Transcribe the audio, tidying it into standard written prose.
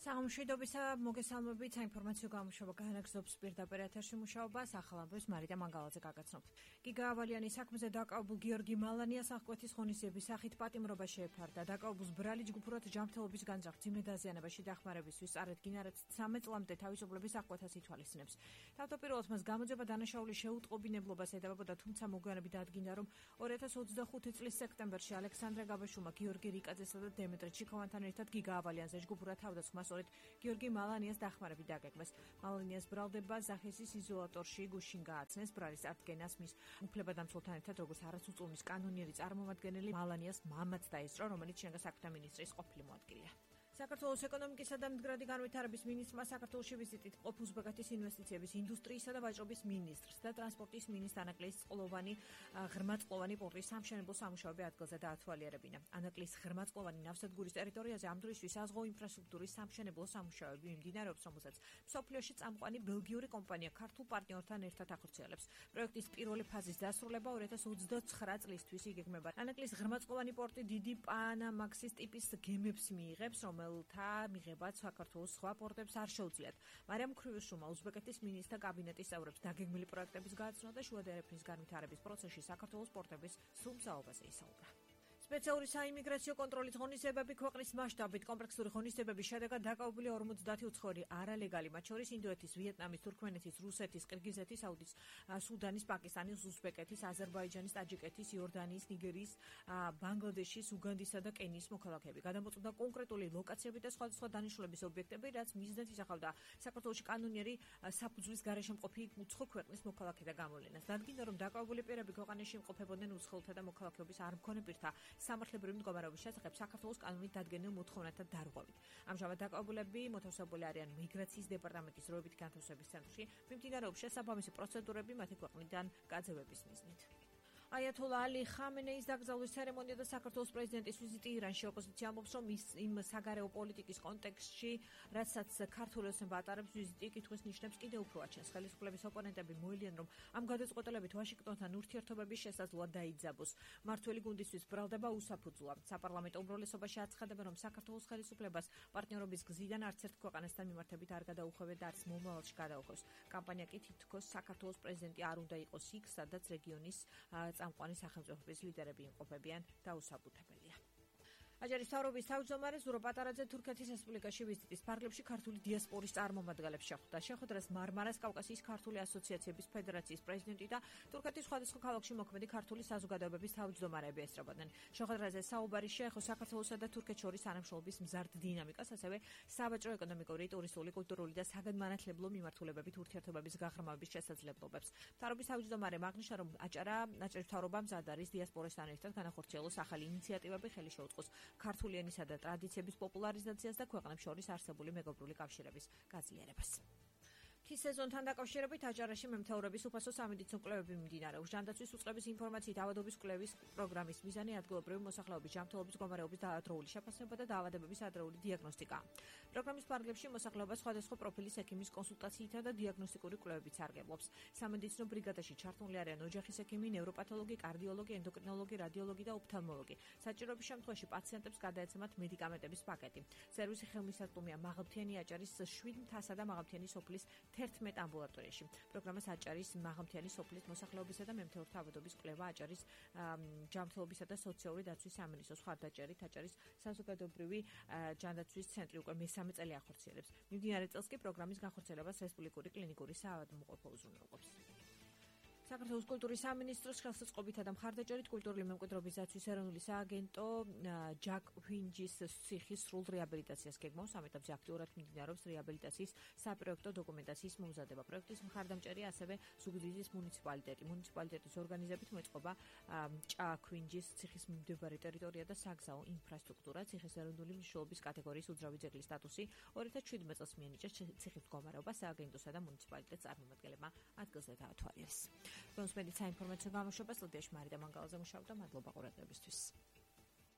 სამშვიდობისა მოგესალმებით საინფორმაციო გამოშვება განაგრძობს პირდაპირ ეთერში მუშაობას ახალ ამბებს მარიდა მანგალაძე გაგაცნობთ. გიგა ავალიანი საქმეზე დაკავებულ გიორგი მალანიას აღკვეთის ღონისძიების სახით პატიმრობა შეეფარდა. დაკავებულს ბრალი ჯგუფურად ჯანმრთელობის განზრახ ძიმე დაზიანებაში დახმარებისთვის წარედგინა, რაც 13 წლამდე თავისუფლების აღკვეთას ითვალისწინებს. თავდაპირველად მას გამოძიება დანაშაულის შეუტყობინებლობას ედებოდა, თუმცა მოგვიანებით დადგინდა, რომ 2025 წლის სექტემბერში ალექსანდრე გაბაშუმა, გიორგი რიკაძესა და დემეტრე ჩიქოვანთან ერთად გიგა ავალიანზე ჯგუფურად თავდასხმას გიორგი მალანიას დახმარებით დაგეგმეს. მალანიას ბრალდება ზახესის იზოლატორში გუშინ გააცნეს. ბრალის წარდგენას მის უფლებადამცველთან ერთად როგორც არასრულწლოვნის კანონიერი წარმომადგენელი მალანიას მამაც დაესწრო, რომელიც შინაგან საქმეთა მინისტრის ყოფილი მოადგილეა. საქართველოს ეკონომიკისა და მდგრადი განვითარების მინისტრმა საქართველოში ვიზიტით ყოფ უზბეკეთის ინვესტიციების, ინდუსტრიისა და ვაჭრობის მინისტრს და ტრანსპორტის მინისტრს ანაკლის ღრმაწყლოვანი პორტის სამშენებლო სამუშაოები ადგილზე დაათვალიერებინა. ანაკლის ღრმაწყლოვანი ნავსადგურის ტერიტორიაზე ამ დროისთვის საზღვაო ინფრასტრუქტურის სამშენებლო სამუშაოები მიმდინარეობს, რომელსაც მსოფლიოში წამყვანი ბელგიური კომპანია ქართულ პარტნიორთან ერთად ახორციელებს. პროექტის პირველი ფაზის დასრულება 2029 წლისთვის იგეგმება. ანაკლის ღრმაწყლოვანი პორტი დიდი პანამაქსის ტიპის გემებს მიიღებს, რომელთა მიღებაც საქართველოს სხვა პორტებს არ შეუძლიათ. მარიამ ქრივიშვილმა უზბეკეთის მინისტრთა კაბინეტის წევრებს დაგეგმილი პროექტების გაცნობა და შუა დერეფნის განვითარების პროცესში საქართველოს პორტების სრულმსაობაზე ისაუბრა. სპეციალური საიმიგრაციო კონტროლის ღონისძიებები ქვეყნის მასშტაბით კომპლექსური ღონისძიებების შედეგად დაკავებული 50 უცხოური არალეგალი, მათ შორის ინდოეთის, ვიეტნამის, თურქმენეთის, რუსეთის, ყირგიზეთის, საუდის, სუდანის, პაკისტანის, უზბეკეთის, აზერბაიჯანის, ტაჯიკეთის, იორდანიის, ნიგერიის, ბანგლადეშის, უგანდისა და კენიის მოქალაქეები. გადამოწყვეტა კონკრეტული ლოკაციები და სხვადასხვა დანიშნულების ობიექტები, რაც მიზნად ისახავდა საქართველოში კანონიერი საფუძვლის გარეშე მყოფი უცხო ქვეყნის მოქალაქეთა გამოვლენას. დადგინდა, რომ დაკავებული პირები ქვეყანაში იმყოფებოდნენ უცხოელთა და მოქალაქეობის არ მქონე პირთა სამართლებრივი მდგომარეობის შესახებ საქართველოს კანონით დადგენილ მოთხოვნათა დარღვევით. ამჟამად დაკავებულები მოთავსებული არიან მიგრაციის დეპარტამენტის დროებითი განთავსების ცენტრში, მიმდინარეობს შესაბამისი პროცედურები მათი ქვეყნიდან გაძევების მიზნით. აიათოლა ალი ხამენეის დაკრძალვის ცერემონია და საქართველოს პრეზიდენტის ვიზიტი ირანში. ოპოზიცია ამბობს, რომ იმ საგარეო პოლიტიკის კონტექსტში, რაცაც ქართული ოცნება ატარებს, ვიზიტი კითხვის ნიშნებს კიდევ უფრო აჩენს. ხელისუფლების ოპონენტები მოელიან, რომ ამ გადაწყვეტილებით ვაშინგტონთან ურთიერთობების შესაძლოა დაიძაბოს. მართველი გუნდისთვის ბრალდება უსაფუძვლა. საპარლამენტო უმრავლესობაში აცხადებენ, რომ საქართველოს ხელისუფლებას პარტნიორობის გზიდან არც ერთ ქვეყანასთან მიმართებით არ გადაუხვევენ და არც მომავალში გადაუხვევს. კამპანია კი თითქოს საქართველოს პრეზიდენტი არ უნდა იყოს იქ, სადაც რეგიონის წამყვანი სახელმწიფოების ლიდერები იმყოფებიან დაუსაბუთებელია. აჯარის მთავრობის თავმჯდომარე ზურო პატარაძე თურქეთის რესპუბლიკაში ვიზიტის ფარგლებში ქართული დიასპორის წარმომადგენლებს შეხვდა. შეხვედრას მარმარას კავკასიის ქართული ასოციაციების ფედერაციის პრეზიდენტი და თურქეთის სხვადასხვა ქალაქში მოქმედი ქართული საზოგადოებების თავმჯდომარეები ესწრებოდნენ. შეხვედრაზე საუბარი შეეხო საქართველოსა და თურქეთს შორის თანამშრომლობის მზარდ დინამიკას, ასევე საბაჭრო ეკონომიკური, ტურისტული, კულტურული და საგანმანათლებლო მიმართულებებით ურთიერთობების გაღრმავების შესაძლებლობებს. მთავრობის თავმჯდომარემ აღნიშნა, რომ აჭარის მთავრობამ მზად არის დიასპორასთან ერთად განახორციელოს ახალი ინიციატივები, ხელი შეუწყოს ქართული ენისა და ტრადიციების პოპულარიზაციას და ქვეყნებს შორის არსებული მეგობრული კავშირების გაძლიერებას. მთის სეზონთან დაკავშირებით აჭარაში მემთეურების უფასო სამედიცინო კვლევები მიმდინარეობს. ჟანდაცვის უწყების ინფორმაციით ავადობის კვლევის პროგრამის მიზანი ადგილობრივი მოსახლეობის ჯანმრთელობის მდგომარეობის დაადროული შეფასება და დაავადებების ადრეული დიაგნოსტიკაა. პროგრამის ფარგლებში მოსახლეობა სხვადასხვა პროფილის ექიმის კონსულტაციითა და დიაგნოსტიკური კვლევებით სარგებლობს. სამედიცინო ბრიგადაში ჩართული არიან ოჯახის ექიმი, ნევროპათოლოგი, კარდიოლოგი, ენდოკრინოლოგი, რადიოლოგი და ოფთალმოლოგი. საჭიროების შემთხვევაში პაციენტებს გადაეცემათ მედიკამენტების პაკეტი. სერვისი ხელმისაწვდომია მაღალმთიანი აჭარის 7 მთასა და მაღალმთიანი სოფლის 11 ამბულატორიაში. პროგრამას აჭარის მაღალმთიანი სოფლის მოსახლეობისა და მემთეურთა ავადობის კვლევა აჭარის ჯანმრთელობისა და სოციალური დაცვის სამინისტროს მხარდაჭერით აჭარის საზოგადოებრივი ჯანდაცვის ცენტრი უკვე მესამე წელი ახორციელებს. მიმდინარე წელს კი პროგრამის განხორციელებას რესპუბლიკური კლინიკური საავადმყოფო უზრუნველყოფს. საქართველოს კულტურის სამინისტროს ხელსაწყობითა და მხარდაჭერით კულტურული მემკვიდრეობის დაცვის ეროვნული სააგენტო ჯაკ ვინჯის ციხის სრულ რეაბილიტაციას გეგმავს. ამ ეტაპზე აქტიურად მიმდინარეობს რეაბილიტაციის საპროექტო დოკუმენტაციის მომზადება. პროექტის მხარდამჭერია ასევე ზუგდიდის მუნიციპალიტეტი. მუნიციპალიტეტის ორგანიზებით მოეწყობა ჯაკ ვინჯის ციხის მდებარე ტერიტორია და საგზაო ინფრასტრუქტურა. ციხის ეროვნული მნიშვნელობის კატეგორიის უძრავი ძეგლის სტატუსი 2017 წელს მიენიჭა ციხის მდგომარეობა სააგენტოსა და მუნიციპალიტეტის წარმომადგენლებმა ადგილზე დაათვალიერეს. Mums medicina informația gamușă pe slădești mari de mangalaza mușau da madloba quraqebistvis.